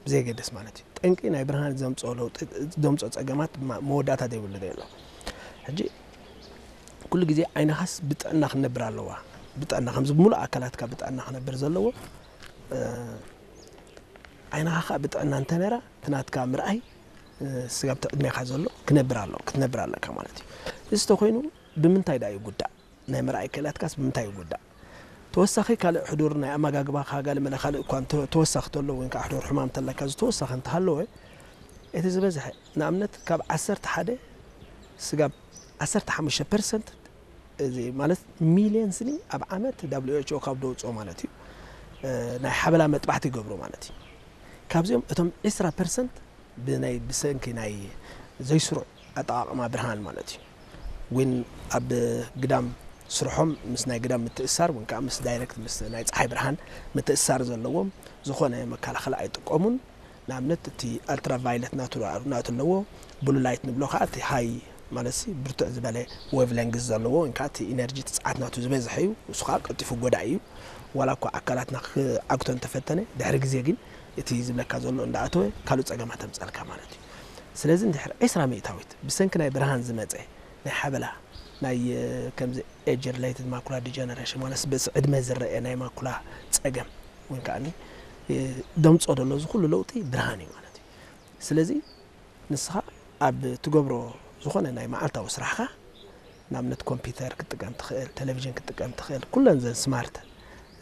ብዘየገድስ ማለት እዩ። ጠንቂ ናይ ብርሃን ዘምፅኦ ለውጢ፣ ዘምፅኦ ፀገማት ማ-፣ መወዳእታ ዘይብሉ ዶ ኣሎ። ሕጂ ኩሉ ግዜ ዓይንኻስ ብጥዕና ክነብር ኣለዋ። ብጥዕና ከምዚ ሙሉእ ኣካላትካ ብጥዕና ክነብር ዘለዎ፣ እ፣ ዓይንኻ ከዓ ብጥዕና እንተነራ እቲ ናትካ ምርኣይ፣ እ፣ ስጋብ እቲ ዕድሜኻ ዘሎ ክነብር ኣሎ፣ ክትነብር ኣለካ ማለት እዩ። እዚ ተኮይኑ ብምንታይ ደኣ ይጉዳእ? ናይ ምርኣይ ክእለትካስ ብምንታይ ይጉዳእ? ተወሳኺ ካልእ ሕዱር ናይ ኣመጋግባኻ ገለ መለ ካልእ እኳ እንተ-፣ ተወሳኺ ተሎ ወይ ከዓ ሕዱር ሕማም ተለካ ዝተወሳኺ እንተሃለወ፣ እቲ ዝበዝሐ ንኣብነት ካብ ዓሰርተ ሓደ ስጋብ ዓሰርተ ሓሙሽተ ፐርሰንት፣ እዚ ማለት ሚልዮን ስኒ ኣብ ዓመት ደብሊው ኤች ኦ ካብ ደውፅኦ ማለት እዩ፣ እ፣ ናይ ሓበላ መጥባሕቲ ይገብሩ ማለት እዩ። ካብዚኦም እቶም ዕስራ ፐርሰንት ብናይ፣ ብሰንኪ ናይ ዘይስሩዕ ኣጠቓቕማ ብርሃን ማለት እዩ። እውን ኣብ ግዳም ስርሖም ምስ ናይ ግዳም ምትእሳር፣ ወይ ከዓ ምስ ዳይሬክት ምስ ናይ ፀሓይ ብርሃን ምትእሳር ዘለዎም ዝኾነ መከላኸሊ ኣይጥቀሙን። ንኣብነት እቲ ኣልትራቫይለት ናቱ፣ ናቱ ኣለዎ፣ ብሉ ላይት ንብሎ ከዓ እቲ ሃይ ማለት ሲ ብርቱዕ ዝበለ ዌቭ ሌንግዝ ዘለዎ፣ ወይ ከዓ እቲ ኢነርጂ፣ እቲ ፀዓት ናቱ ዝበዝሐ እዩ። እሱ ከዓ ቀልጢፉ ጎዳኢ እዩ። ዋላ እኳ ኣካላትና ክዓግቶ እንተፈተነ፣ ድሕሪ ግዜ ግን እቲ ዝብለካ ዘሎ እንዳኣተወ ካልእ ፀገማት ተምፀልካ ማለት እዩ። ስለዚ እንድሕር ዕስራ ሚእታዊት ብሰንኪ ናይ ብርሃን ዝመፀ ናይ ሓበላ፣ ናይ፣ እ፣ ከምዚ ኤጅ ሪሌትድ ማኩላ ዲጀነሬሽን ማለት በዚ ዕድመ ዝረአ ናይ ማኩላ ፀገም፣ ወይ ከዓ፣ እ፣ ደምፆ ዘሎ እዚ ኩሉ ለውጢ ብርሃን እዩ ማለት እዩ። ስለዚ ንስኻ ኣብ ትገብሮ ዝኾነ ናይ መዓልታዊ ስራሕኻ፣ ንኣብነት ኮምፒውተር ክትጥቀም ትኽእል፣ ቴሌቪዥን ክትጥቀም ትኽእል፣ ኩለን ዘን ስማርት፣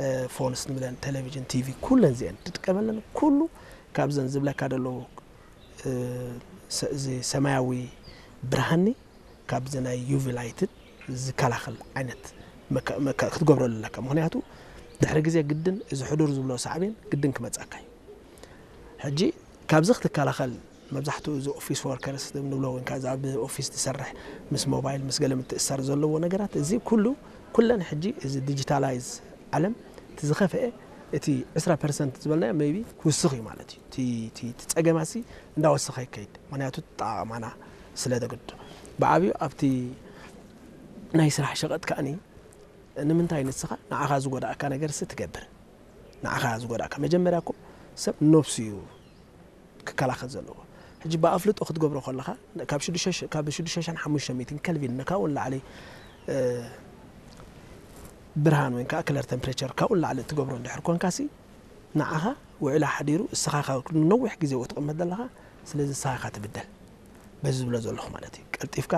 እ፣ ፎንስ ንብለን፣ ቴሌቪዥን፣ ቲቪ፣ ኩለን እዚአን ትጥቀመለን፣ ኩሉ ካብዘን ዝብለካ ዘለዉ፣ እ፣ ሰ-፣ እዚ ሰማያዊ ብርሃኒ ካብዚ ናይ ዩቪ ላይትን ዝከላኸል ዓይነት መከ-፣ መከ-፣ ክትገብረሉ ኣለካ። ምኽንያቱ ድሕሪ ግዜ ግድን እዚ ሕዱር ዝብሎ ሳዕቤን ግድን ክመጻካ እዩ። ሕጂ ካብዚ ክትከላኸል መብዛሕትኡ እዚ ኦፊስ ወርከርስ ንብሎ ወይ ከዓ እዚ ኣብ ኦፊስ ትሰርሕ ምስ ሞባይል ምስ ገለ ምትእሳር ዘለዎ ነገራት፣ እዚ ኩሉ፣ ኩለን ሕጂ እዚ ዲጂታላይዝ ዓለም እቲ ዝኸፍአ እቲ ዕስራ ፐርሰንት ዝበልናዮ ሜይቢ ክውስኽ እዩ ማለት እዩ። እቲ፣ እቲ፣ እቲ ጸገማሲ እንዳወሰኸ ይከይድ። ምኽንያቱ ኣጠቓቕማና ስለ ዘግድዶ። ብዓብዩ ኣብቲ ናይ ስራሕ ሸቐጥ ከኣኒ ንምንታይ ንስኻ ንዓኻ ዝጎዳእካ ነገርሲ ትገብር? ንዓኻ ዝጎዳእካ። መጀመርያ እኮ ሰብ ነብሱ እዩ ክከላኸል ዘለዎ። ሕጂ ብኣፍልጦ ክትገብሮ ከለኻ፣ ካብ ሽዱሽተ ሽ-፣ ካብ ሽዱሽተ ሽሕን ሓሙሽተ ሚእትን ከልቪን ካብኡ ንላዕሊ፣ እ፣ ብርሃን ወይ ከዓ ክለር ቴምፕሬቸር ካብኡ ንላዕሊ እትገብሮ እንድሕር ኮንካሲ፣ ንዓኻ ውዕላ ሓዲሩ እስኻ ካብ ነዊሕ ግዜ ትቕመጥ ዘለኻ፣ ስለዚ እስኻ ኢኻ ትብደል። በዚ ዝብሎ ዘለኹ ማለት እዩ። ቀልጢፍካ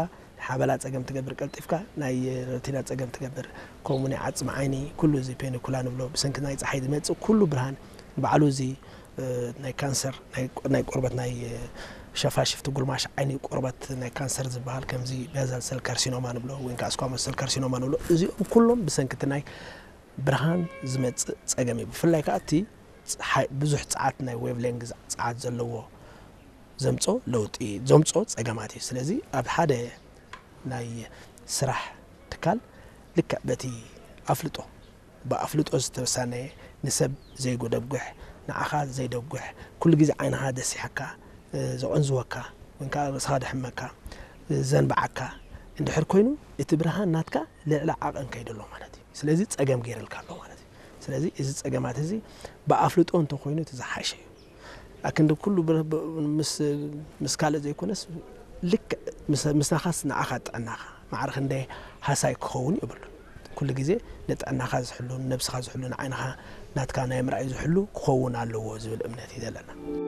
ሓበላ ጸገም ትገብር፣ ቀልጢፍካ ናይ ረቲና ጸገም ትገብር፣ ከምኡ ናይ ዓጽሚ ዓይኒ፣ ኩሉ እዚ ፔኒኩላ ንብሎ፣ ብሰንኪ ናይ ጸሓይ ዝመጽእ ኩሉ ብርሃን፣ ባዕሉ እዚ፣ እ፣ ናይ ካንሰር፣ ናይ፣ ናይ ቆርበት፣ ናይ፣ እ፣ ሸፋሽፍቲ ጉልማሽ ዓይኒ ቆርበት ናይ ካንሰር ዝበሃል፣ ከምዚ ቤዘል ሰል ካርሲኖማ ንብሎ፣ ወይ ከዓ ስኳሞስ ሰል ካርሲኖማ ንብሎ፣ እዚኦም ኩሎም ብሰንኪ እቲ ናይ ብርሃን ዝመጽእ ጸገም እዩ። ብፍላይ ከዓ እቲ ጸሓይ፣ ብዙሕ ጸዓት፣ ናይ ዌቭ ሌንግዝ ጸዓት ዘለዎ ዘምጾ ለውጢ፣ ዘምጾ ጸገማት እዩ። ስለዚ ኣብ ሓደ ናይ ስራሕ ትካል ልክዕ በቲ ኣፍልጦ፣ ብኣፍልጦ ዝተሳነየ፣ ንሰብ ዘይጎደጉሕ፣ ንዓኻ ዘይደጉሕ፣ ኩሉ ግዜ ዓይንኻ ደሲሓካ፣ እ፣ ዘቐንዝወካ፣ ወይ ከዓ ርእስኻ ደሕመካ፣ እ፣ ዘንብዓካ እንድሕር ኮይኑ፣ እቲ ብርሃን ናትካ ልዕሊ ዓቐን ከይዱ ኣሎ ማለት እዩ። ስለዚ ጸገም ገይሩልካ ኣሎ ማለት እዩ። ስለዚ እዚ ጸገማት እዚ ብኣፍልጦ እንተኾይኑ እቲ ዝሓሸ እዩ። ኣክንዲ ኩሉ ብር-፣ ብ-፣ ምስ፣ ምስ ካልእ ዘይኮነስ ልክዕ ምስ፣ ምሳኻስ ንዓኻ ጥዕናኻ ማዕረ ክንደይ ሃሳይ ክኸውን የብሉን። ኩሉ ግዜ ንጥዕናኻ ዝሕሉ፣ ንነብስኻ ዝሕሉ፣ ንዓይንኻ ናትካ ናይ ምርኣይ ዝሕሉ ክኸውን ኣለዎ ዝብል እምነት እዩ ዘለና።